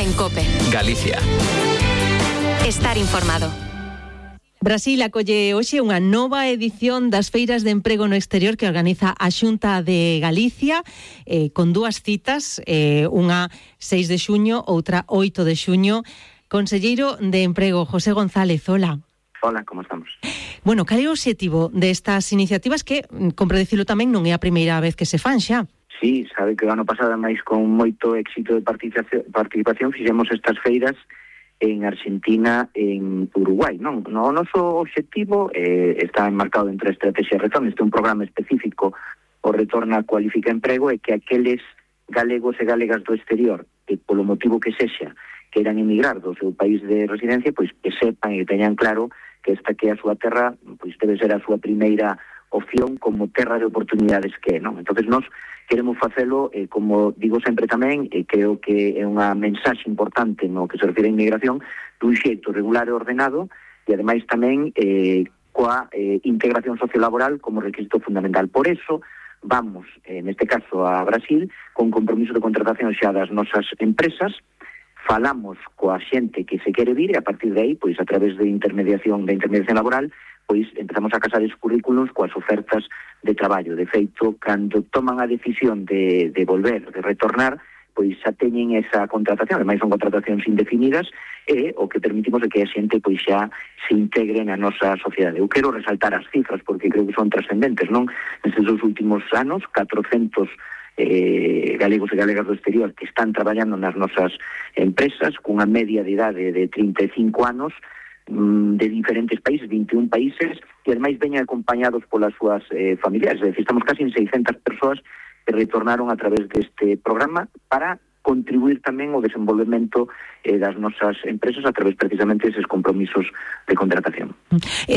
en COPE. Galicia. Estar informado. Brasil acolle hoxe unha nova edición das feiras de emprego no exterior que organiza a Xunta de Galicia, con dúas citas, unha 6 de xuño, outra 8 de xuño. Conselleiro de Emprego, José González, hola. Hola, como estamos? Bueno, cal é o obxectivo destas iniciativas que, compre dicilo tamén, non é a primeira vez que se fan xa? Sí, sabe que o ano pasado, máis con moito éxito de participación, fixemos estas feiras en Argentina, en Uruguai, non? O noso obxectivo está enmarcado entre a estrategia Retorno. Este é un programa específico, o Retorna Cualifica Emprego, e que aqueles galegos e galegas do exterior que polo motivo que sexa queiran emigrar do seu país de residencia, pois que sepan e teñan claro que esta que é a súa terra, pois debe ser a súa primeira opción como terra de oportunidades que é, non? Entonces nós queremos facelo, como digo sempre tamén, creo que é unha mensaxe importante no que se refire a inmigración, dun xeito regular e ordenado, e ademais tamén coa integración sociolaboral como requisito fundamental. Por eso vamos, neste caso, a Brasil, con compromiso de contratación xa das nosas empresas, falamos coa xente que se quere vir e a partir de aí, pois a través de intermediación laboral, pois empezamos a casar os currículos coas ofertas de traballo. De feito, cando toman a decisión de volver, de retornar, pois xa teñen esa contratación, ademais son contratacións indefinidas, e o que permitimos é que a xente pois xa se integre na nosa sociedade. Eu quero resaltar as cifras porque creo que son trascendentes, non? Nestes dos últimos anos, 400 galegos e galegas do exterior que están traballando nas nosas empresas cunha media de idade de 35 anos de diferentes países, 21 países, e ademais veñen acompañados polas súas familiares. É dicir, estamos casi en 600 persoas que retornaron a través deste programa para contribuir tamén ao desenvolvemento das nosas empresas a través precisamente deses compromisos de contratación.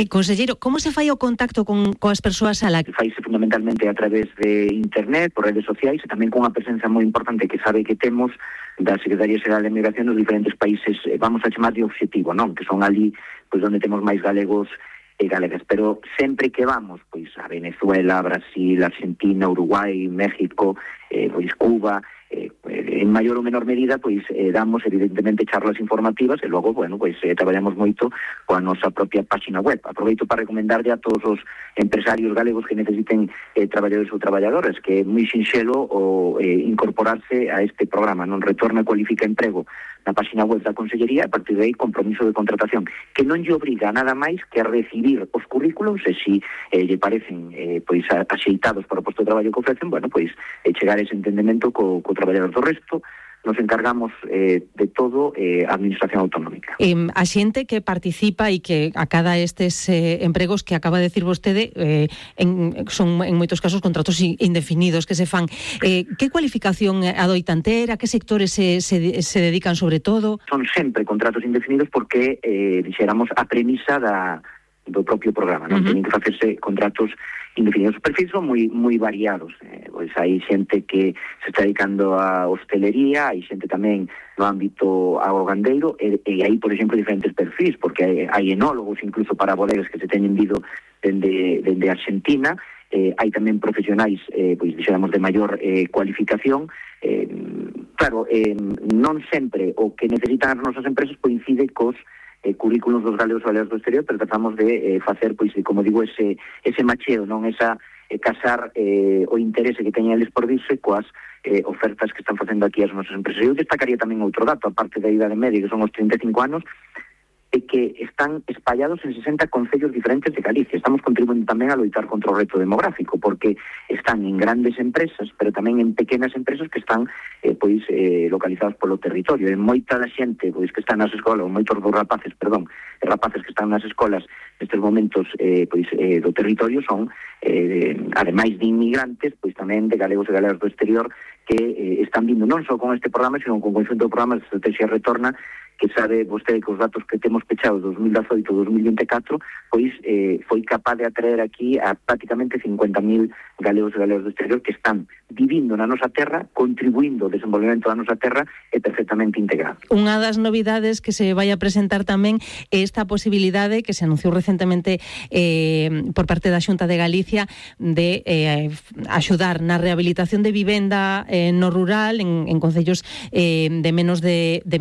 Conselleiro, como se fai o contacto coas persoas Faise fundamentalmente a través de internet, por redes sociais, e tamén con unha presenza moi importante que sabe que temos da Secretaría Xeral de Migración nos diferentes países, vamos a chamar de obxectivo, non? Que son ali pois onde temos máis galegos e galegas, pero sempre que vamos pois a Venezuela, Brasil, Argentina, Uruguai, México, pois Cuba, en maior ou menor medida pois damos evidentemente charlas informativas e logo, bueno, pois traballamos moito coa nosa propia página web. Aproveito para recomendarlle a todos os empresarios galegos que necesiten traballadores ou traballadoras que é moi sinxelo o incorporarse a este programa, non? Retorna Cualifica Emprego na página web da Consellería, a partir de aí compromiso de contratación que non lle obriga nada máis que a recibir os currículos e si lle parecen pois axeitados para o posto de traballo que ofrecen, bueno, pois chegar a ese entendemento co traballador. Do resto nos encargamos de todo a Administración Autonómica. A xente que participa e que acada estes empregos que acaba de decir vostede son en moitos casos contratos indefinidos que se fan. Que cualificación adoitan ter? A que sectores se dedican sobre todo? Son sempre contratos indefinidos porque dixéramos a premisa do propio programa, non? Teñen que facerse contratos indefinidos. Os perfis son moi variados, pois hai xente que se está dedicando a hostelería, hai xente tamén no ámbito agrogandeiro, e hai, por exemplo, diferentes perfis, porque hai enólogos incluso para bodegas que se teñen vido dende Argentina, hai tamén profesionais, pois dixéramos, de maior cualificación. Claro, non sempre o que necesitan as nosas empresas coincide cos currículos dos galegos e galegas do exterior, pero tratamos de facer, pois, como digo, ese macheo, non? Esa casar o interese que teñen eles por dirse coas ofertas que están facendo aquí as nosas empresas. Eu destacaría tamén outro dato, aparte da idade media, que son os 35 anos, e que están espallados en 60 concellos diferentes de Galicia. Estamos contribuindo tamén a loitar contra o reto demográfico, porque están en grandes empresas, pero tamén en pequenas empresas que están localizadas polo territorio. En moita da xente pois que están nas escolas, moitos dos rapaces que están nas escolas nestes momentos do territorio son, ademais de inmigrantes, pois tamén de galegos e galegas do exterior que están vindo non só con este programa, sino con conxunto de programas de Estrategia Retorna, que sabe vostede que os datos que temos pechados 2018-2024, pois foi capaz de atraer aquí a prácticamente 50.000 galegos e galegas do exterior que están vivindo na nosa terra, contribuindo ao desenvolvemento da nosa terra e perfectamente integrados. Unha das novidades que se vai a presentar tamén é esta posibilidade que se anunciou recentemente por parte da Xunta de Galicia de axudar na rehabilitación de vivenda no rural en concellos de menos de 20